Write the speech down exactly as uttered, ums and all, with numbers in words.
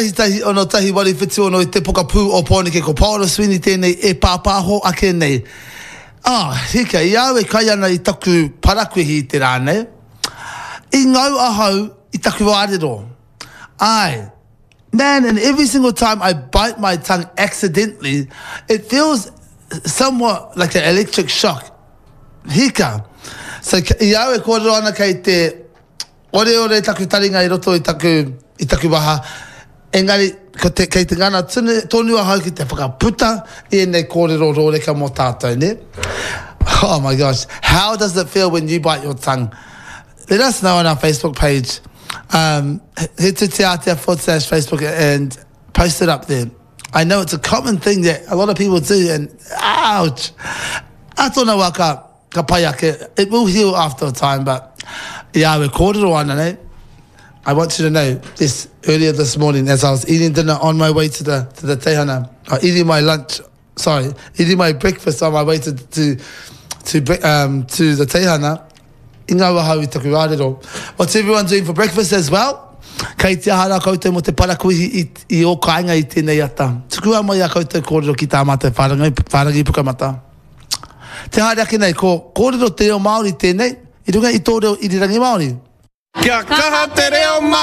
Tahi tahi ono tahi waru whitu ono i te pokapū o Pōneke ko Paora Sweeney tēnei e pāpāho ake nei. Ah, hika, i au e kai ana i taku parakuihi i te rā nei, i ngau ahau i taku ārero. Ai, man, and every single time I bite my tongue accidentally, it feels somewhat like an electric shock. Hika. So, i au e kōrero ana kei te oreore taku taringa i roto i taku, i taku waha, engari ko te, kei te ngana tonu, tonu ahau ki te whakaputa i ēnei kōrero rōreka mō tātou, ne? Oh my gosh. How does it feel when you bite your tongue? Let us know on our Facebook page. Um, head to Te Ātea forward slash Facebook and post it up there. I know it's a common thing that a lot of people do and ouch! A tōna wā ka, ka pai ake. It will heal after a time, but i au e kōrero ana nei, I want you to know this earlier this morning as I was eating dinner on my way to the, to the teihana, or eating my lunch, sorry, eating my breakfast on my way to, to, to, um, to the teihana, i ngau ahau i taku ārero. What's everyone doing for breakfast as well? Kei te aha rā koutou mō te parakuihi i, i ō kāinga i tēnei ata. Tukua mai ā koutou kōrero ki tā mātou whārangi, whārangi pukamata. Te haere ake nei, ko Kōrero Te Reo Māori tēnei, i runga i tō reo irirangi Māori. Kia kaha te reo Māori!